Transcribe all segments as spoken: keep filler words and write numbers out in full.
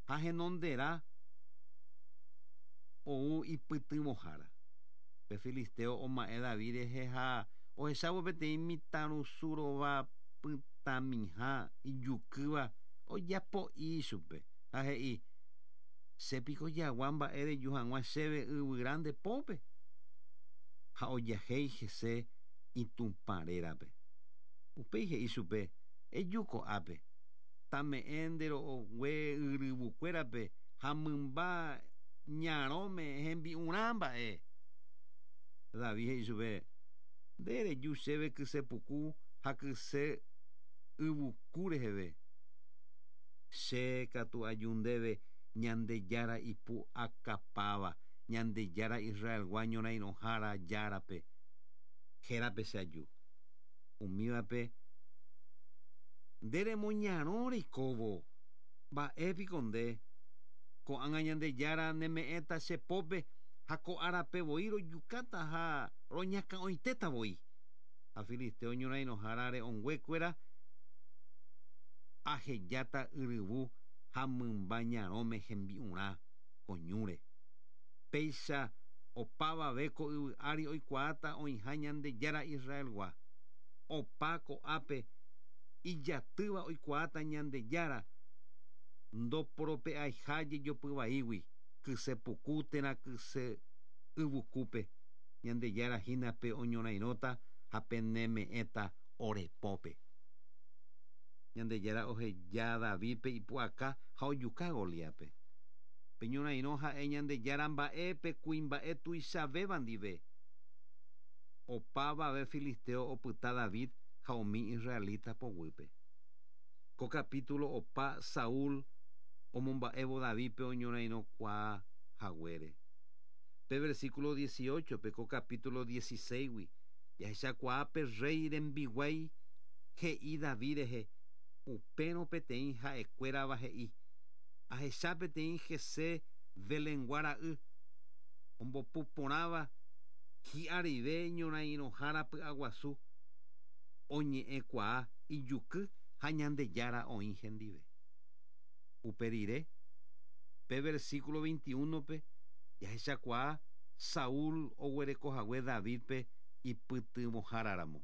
Ha henonderã ou ipytyvõhára. Pe filisteo oma'ẽ David rehe ha ohechávo peteĩ mitãrusu rova pytãmiha ijukýva ojapo'i chupe ha he'i: Chépiko jagua mba'e reju hag̃ua chéve yvyra nde pópe. Ha ojahéi hese itupã rérape. Upéi he'i chupe: Eju ko'ápe. Tame'ẽ nde ro'okue yryvukuérape ha mymba ñarõme hembi'urã mba'e. David he'i chupe: Nde reju chéve kysepuku ha kyse yvuku reheve. Che katu aju ndéve Ñandejára ipu'akapáva, Ñandejára Israelgua ñorairõhára járape. Hérape che aju. Umívape nde remoñarõ reikóvo. Mba'épiko nde. Ko'ág̃a Ñandejára neme'ẽta che pópe ha ko árape voi rojukáta ha roñakã'oitéta voi. Ha filisteo ñorairõhára re'õnguekuéra ahejáta yryvu ha mymba ñarõme hembi'urã ko ñúre. Péicha opavave ko yvy ári oikuaáta oĩha Ñandejára Israelgua. Opa ko'ápe ijatýva oikuaáta Ñandejára ndoporope'aiha jejopyvaígui kysepuku térã kyse yvukúpe. Ñandejára hína pe oñorairõta ha peneme'ẽta ore pópe. Ñandejára oheja Davidpe ipu'aka ha ojuka Goliátpe. Pe ñorairõ ha'e Ñandejára mba'e pe kuimba'e tuichavéva ndive. Opavave filisteo opyta David ha umi israelita poguýpe. Ko capítulo opa Saúl omomba'évo Davidpe oñorairõkuaa haguére. Pe versículo dieciocho pe ko capítulo dieciséis-gui jahechakuaa pe rey rembiguái he'i David rehe upérõ peteĩ ha'ekuérava he'i: Ahecha peteĩ Jesé Belengua ra'y ombopuporãva hi'arive ñorairõhára py'aguasu oñe'ẽkuaa ijuky ha Ñandejára oĩ hendive. Upe rire pe versículo veintiuno-pe jahechakuaa Saúl oguerekohague Davidpe ipytyvõháraramo.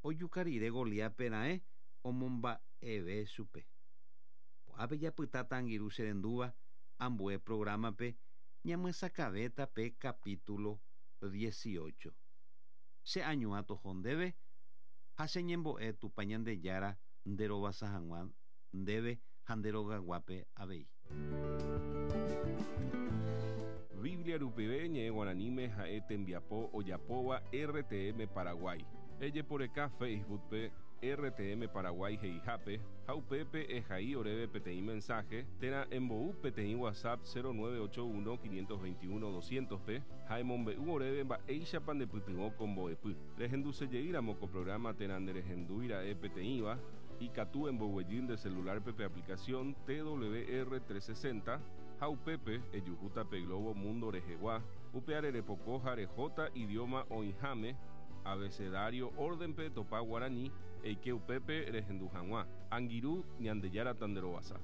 Ojuka rire Goliátpe raẽ omomba'eve chupe. Ko'ápe japytáta angirũ cherendúva ambue programa-pe ñamyesakãvéta pe capítulo dieciocho. Che añuã toho ndéve ha che ñembo'e Tupã Ñandejára nderovasa hag̃ua ndéve ha nderogaguápe avei. Biblia rupive ñe'ẽ guaraníme ha'e tembiapo ojapóva R T M Paraguay. Ejeporeka Facebook-pe R T M Paraguay he'ihápe ha upépe ehai oréve peteĩ mensaje térã embou peteĩ WhatsApp cero nueve ocho uno quinientos veintiuno doscientos-pe ha emombe'u oréve mba'éichapa ndepytyvõ ko mbo'epy. Rehendusejeýramo ko programa térã nderehendúira'e peteĩva ikatu emboguejy nde celular-pe pe aplicación T W R trescientos sesenta ha upépe ejuhúta pe Globo Mundo rehegua upe arerepoko ha rehóta idioma oĩháme abecedario orden-pe topa guarani eike upépe rehendu hag̃ua. Angirũ Ñandejára tanderovasa.